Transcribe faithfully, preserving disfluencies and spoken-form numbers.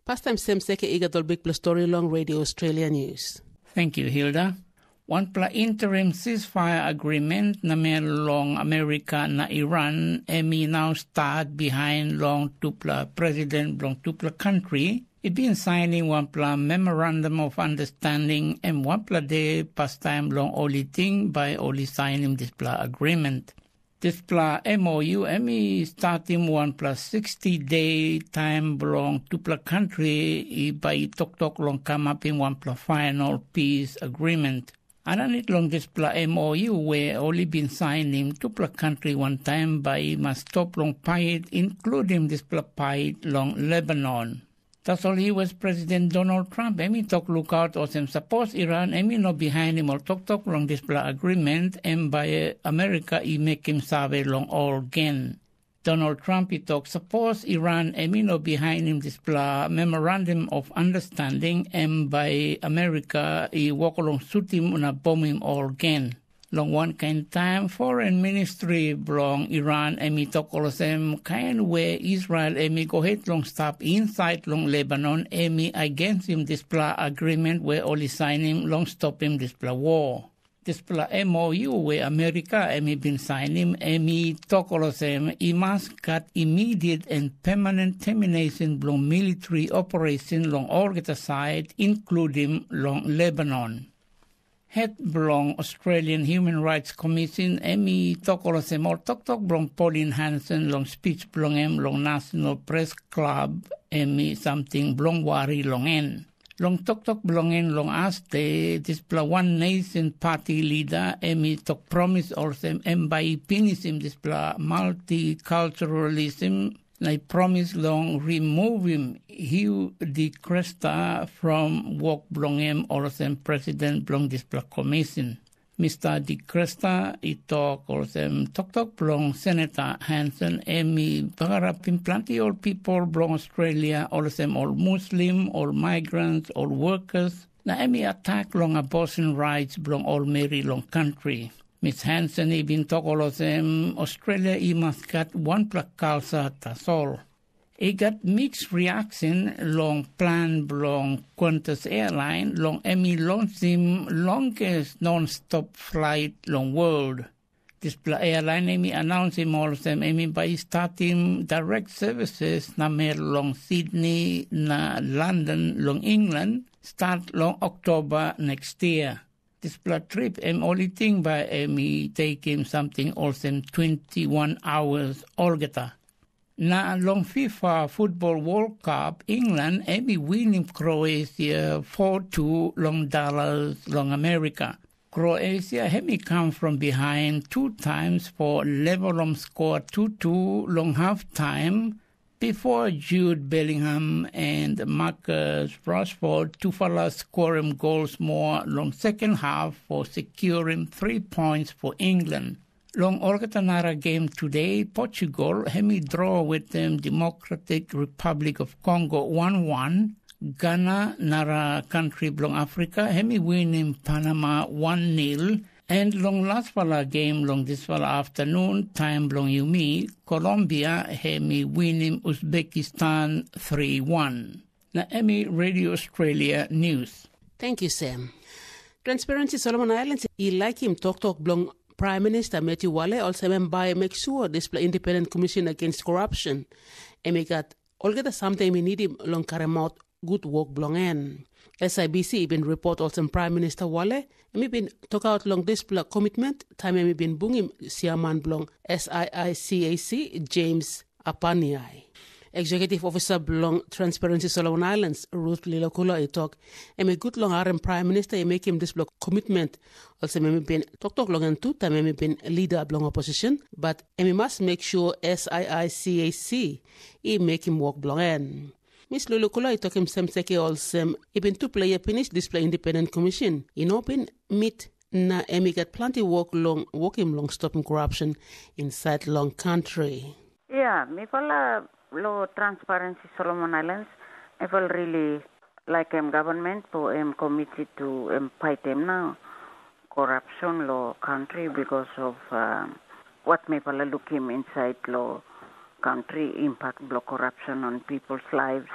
Pastaim sem seke i gat ol bikpela stori long Radio Australia News. Thank you, Hilda. Wanpela interim ceasefire agreement namel long Amerika na Iran em i nau stat bihain long tupela president bilong tupela kantri i bin sainim wanpela memorandum of understanding em wanpela de pastaim long ol i ting bai ol i sainim dispela agreement. Dispela M O U em i statim wanpela sixty de taim bilong tupela kantri i bai i toktok long kamapim wanpela final peace agreement. Aninit long dispela M O U we ol i bin sainim, tupela kantri wantaim bai i mas stop long pait, inkludim dispela pait long Lebanon. Tasol U S President Donald Trump em i tok lukaut olsem sapos Iran em i no bihainim ol toktok long dispela agreement, em bai Amerika i mekim save long ol gen. Donald Trump i tok sapos Iran em i no bihainim dispela Memorandum of Understanding, em bai Amerika i wok long sutim na bomim ol gen. Long wankain taim foren ministri bilong Iran em i tok olsem, kain we Israel em i go het long stap insait long Lebanon, em i agensim dispela agreement we ol i sainim long stopim dispela wor. Dispela M O U we Amerika em i bin sainim, em i tok olsem, i mas gat immediate and permanent termination bilong military operation long olgeta sait, inkludim long Lebanon. Het bilong Australian Human Rights Commission em i tok olsem ol toktok bilong Pauline Hanson long spich bilong em long National Press Club em i samting bilong wari long en. Long toktok bilong en long as de, dispela One Nation Party leader em i tok promis olsem em bai i pinisim dispela multiculturalism na i promis long removim Hugh de Cresta from wok bilong em olsem president bilong dispela commission. Mister de Cresta i tok olsem toktok bilong Senator Hanson em i bagarapim planti ol pipel bilong Australia, olsem ol Muslim, ol migrants, ol workers, na em i atak long abortion rights bilong ol meri long kantri. Miss Hanson i bin tok olsem Australia i mas gat wanpela kalsa tasol. I gat mix reaction long plan bilong Qantas Airline long em i lonsim longest non-stop flight long world. Dispela airline em i announsim olsem em i bai i statim direct services namel long Sydney na London long England, start long Oktoba next year. Dispela trip em ol i ting bai em i tekim samting olsem twenty-one hours olgeta. Na long FIFA Football World Cup, England em i winim Kroasia four two long Dallas long Amerika. Kroasia em i kam from behind two times for levelom skor two two long half time, before Jude Bellingham and Marcus Rashford tufala skorim gols moa long second half for securim three points for England. Long olgeta nara game today, Portugal em i draw wetem Democratic Republic of Congo one one, Ghana, nara kantri bilong Afrika, em i winim Panama one nil, en long laspela game long dispela aftanun, taim bilong yumi, Colombia em i winim Uzbekistan three one. Na em i Radio Australia News. Thank you, Sam. Transparency Solomon Islands i laikim toktok bilong Prime Minister Matthew Wale olsem em bai make sure dispela Independent Commission Against Corruption em i gat olgeta samting em i nidim long karemaut gut wok bilong en. S I B C i bin ripot olsem Prime Minister Wale em i bin tokaut long dispela komitment taim em i bin bungim siaman bilong S I I C A C, James Apaniai. Executive Officer bilong Transparency Solomon Islands, Ruth Lilokula, i tok, em i gut long harim Prime Minister i mekim dispela komitment, olsem em i bin toktok long en tu taim em i bin lida bilong opposition, bat em i mas make sure S I I C A C i mekim wok bilong en. Miss Lulukula i tokim Semseke olsem, i bin tupela yia pinis dispela independent commission i no bin mit na em i gat planti wok long wokim long stopim korapsyon insait long kantri. Ya, mipela lo Transparency Solomon Islands, mipela really laikim government po em committed to em paitim na corruption lo country because of uh, what mipela lukim inside lo country, impact blo corruption on people's lives.